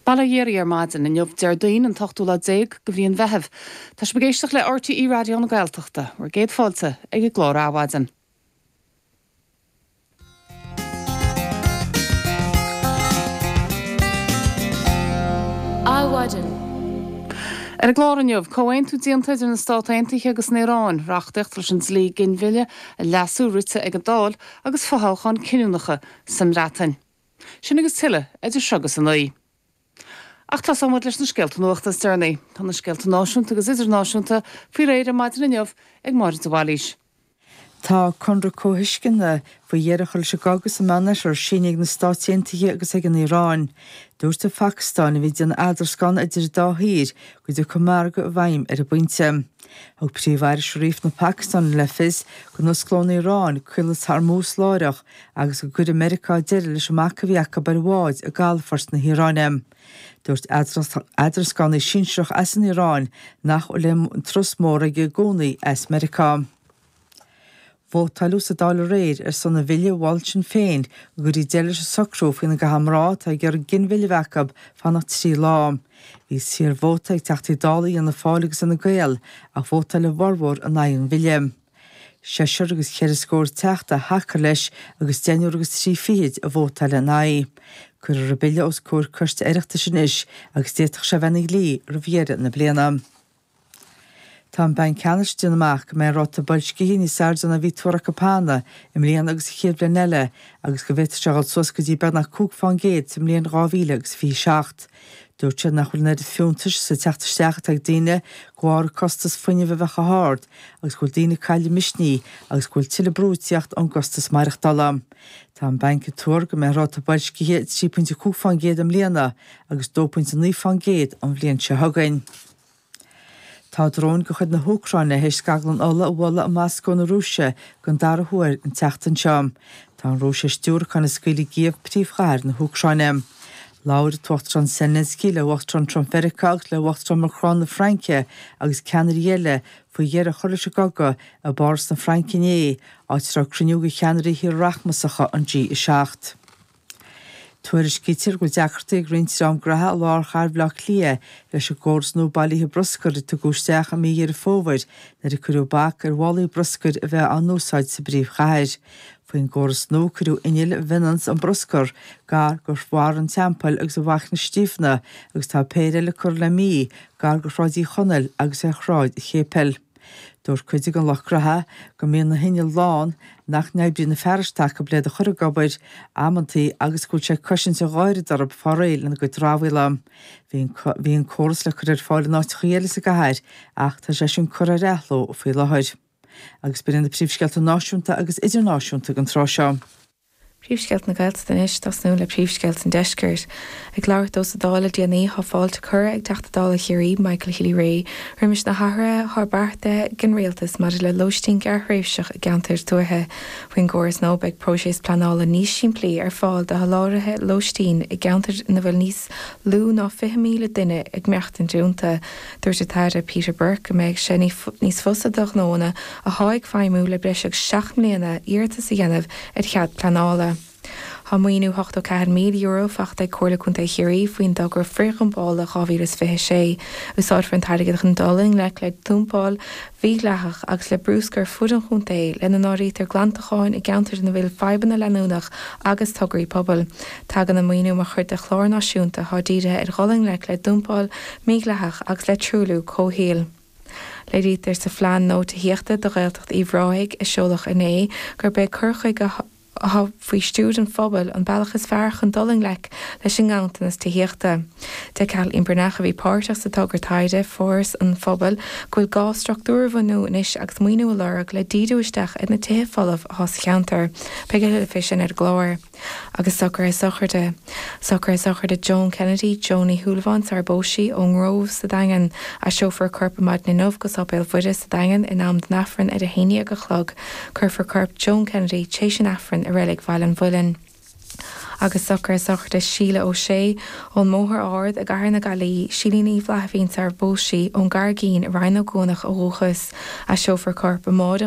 Bail ó Dhia oraibh ar maidin inniu, Déardaoin, an t-ochtú lá déag de mhí an Mheithimh. Tá sibh ag éisteacht le RTÉ Raidió na Gaeltachta. Bhur gcéad fáilte ag an gclár Adhmhaidin. Adhmhaidin. Ar an gclár inniu, comhaontú déanta idir na Stát Aontaithe agus an Iaráin, reachtaíocht leis an dlí ginmhilleadh a leasú rite ag an Dáil agus fothoghcháin cinniúnacha sa mBreatain. Sin agus tuilleadh idir seo agus 9. Ach tosóidh muid leis na scéalta nuachta is deireanaí. Tá na scéalta náisiúnta agus idirnáisiúnta faoi réir ar maidin inniu ag Máire de Bhailís. Tá conradh comhthuisceana faoi dheireadh a chur leis an gcogadh sa Meánoirthear sínithe ag na Stáit Aontaithe agus ag an Iaráin. Dúirt an Phacastáin, a bhí ag déanamh eadrascána idir an dá thír, go dtiocfaidh margadh i bhfeidhm ar an bpointe. Thug Príomh-Aire Sharif na Pacastáine le fios go n-osclóidh an Iaráin Caolas Hormuz láithreach agus go gcuirfidh Meiriceá deireadh leis an mbac a bhí acu ar bháid i gcalafort na hIaráine. Dúirt eadrascánaí sinsearach as an Iaráin nach bhfuil aon turas mór aige i gcónaí as Meiriceá. Vótáileadh sa Dáil aréir ar son an bhille a mhol Sinn Féin go gcuirfí deireadh leis an socrú faoina gcaithfidh mná atá ag iarraidh ginmhilleadh a bheith acu fanacht 3 lá. Bhí saorvóta ag Teachtaí Dála Fhianna Fáil agus Fhine Gael ach vótáil a bhformhór in aghaidh an bhille. Seisear agus cheithre scór teachta a thacaigh leis agus deichniúr agus trí fichid a vótáil ina aghaidh. Cuirfear an bille os comhair coiste Oireachtais anois agus d'fhéadfadh sé a bheith ina dhlí roimh dheireadh na bliana. Tá an Banc Ceannais ag déanamh amach go mbeidh an ráta boilscithe níos airde ná a bhí tuartha acu cheana i mbliana agus an chéad bhliain eile agus go bhféadfadh sé a dhul suas go dtí beagnach 5 fán gcéad sa mbliain 2027. Dúirt siad nach bhfuil an oiread fiúntais sa teacht isteach atá ag daoine de bharr costas fuinnimh a bheith chomh hard agus go bhfuil daoine ag cailleadh misnigh agus go bhfuil tuilleadh brú ag tíocht ón gcostas maireachtála. Tá an banc ag tuar go mbeidh ráta boilscithe 3.5 fán gcéad i mbliana agus 2.9 fán gcéad an bhliain seo chugainn. Tá dróin de chuid na hÚcráine théis scaglann ola a bhualadh i Moscó na Rúise den dara huair an tseachtain seo. Tá an Rúis théis diúracáin a scaoileadh i gCív, príomhchathair na hÚcráine. Labhair an tUachtarán Zelensky le hUachtarán Trump Mheiriceá agus le hUachtarán Macron na Fraince agus ceannairí eile faoi dheireadh a chur leis an gcogadh i bPáras na Fraince inné, áit a raibh cruinniú de cheannairí thíortha rachmasacha an G7. Tuairiscítear go bhfuil deacrachtaí ag roinnt dream gnaithe i lár chathair Bhaile Átha Cliath leis an gcóras nua bailithe bruscair a tugadh isteach i mí Dheireadh Fómhair nuair a cuireadh bac ar mhálaí bruscair a bheith á n-úsáid sa bpríomhchathair. Faoin gcóras nua cuireadh innill a bhionanns an bruscar gar do Bharr an Teampaill agus ar Mhachaire Stiabhna agus tá péire eile curtha le mí gar do Shráid Uí Chonaill agus ar Shráid Chéipil. Dúirt cuid den lucht gnaithe go mbíonn na hinnill lán, nach n-oibríonn na fearais atá acu le iad a chur ag obair, amantaí, agus go bhfuil sé ag cosaint a dh'oiread orthu fáil réidh lena gcuid dramhaíola. Bhí bhí an córas le cur ar fáil in áiteachaí eile sa gcathair ach tá sé sin curtha ar athló faoi láthair. Agus b'in iad na príomhscéalta náisiúnta agus idirnáisiúnta don tráth seo. Príomhscéalta na Gaeltachta anois, tosnú le príomhscéalta an Deiscirt. Ag labhairt dó sa Dáil le déanaí, thá fáilte curtha ag Teachta Dála Chiarraí, Michael Healy-Rae, roimis na hathruithe thá beartaithe ag an Rialtas maidir le lóistín gearrthréimhseach i gceantair tuaithe. Faoin gcóras nua beidh próiseas pleanála níos simplí ar fáil do sholáthraithe lóistín i gceantair ina bhfuil níos lú ná 20,000 duine ag maireachtaint iontu. Dúirt an tAire Peter Burke go mbeidh sé níos fusa do ghnóanna athá ag feidhmiú le breis agus 7 mbliana iarratas a dhéanamh ar chead pleanála. Tá maoiniú €84,000 faighte ag Comhairle Contae Chiarraí faoin dtogra frithdhumpála 2026. Úsáidfear an t-airgead chun dul i ngleic le dumpáil mhídhleathach agus le bruscar ar fud an chontae, lena n-áirítear glantacháin i gceantair ina bhfuil fadhbanna leanúnach agus tograí pobail. Tagann an maoiniú mar chuid de chlár náisiúnta atá dírithe ar dhul i ngleic le dumpáil mhídhleathach agus le truailliú comhshaoil. Léirítear sa phlean nua tithíochta do Ghaeltacht Uíbh Ráthaigh, a seoladh inné, gurb é cur chuige atá faoi stiúir an phobail an bealach is fearr chun dul i ngleic leis an nganntanas tithíochta. Deir Kathleen Breathnach, a bhí páirteach sa togra taighde, Foras an Phobail, go bhfuil gá struchtúir a bhunú anois agus maoiniú a lorg le díriú isteach ar na tithe folamh atá sa cheantar. Beidh a thuilleadh fé sin ar an gclár. Agus socruithe sochraide. Socruithe sochraide Joan Kennedy, Joan Ní Shúilleabháin sar a bpós sí, ón nGrove sa Daingean. Aistreofar a corp ar maidin inniu go Sáipéal Mhuire sa Daingean in am don Aifreann ar a 11 a chlog. Cuirfear corp Joan Kennedy t'éis an Aifrinn i Reilig Bhaile an Mhuilinn. Agus socruithe sochraide Síle Ó Sé, ón mBóthar Ard i gCathair na Gaillimhe, Sílín Uí Fhlaithbhín sar a bpós sí, ón gCarraigín i Rinn Ó gCuanach ó dhúchas. Aistreofar a corp amáireach.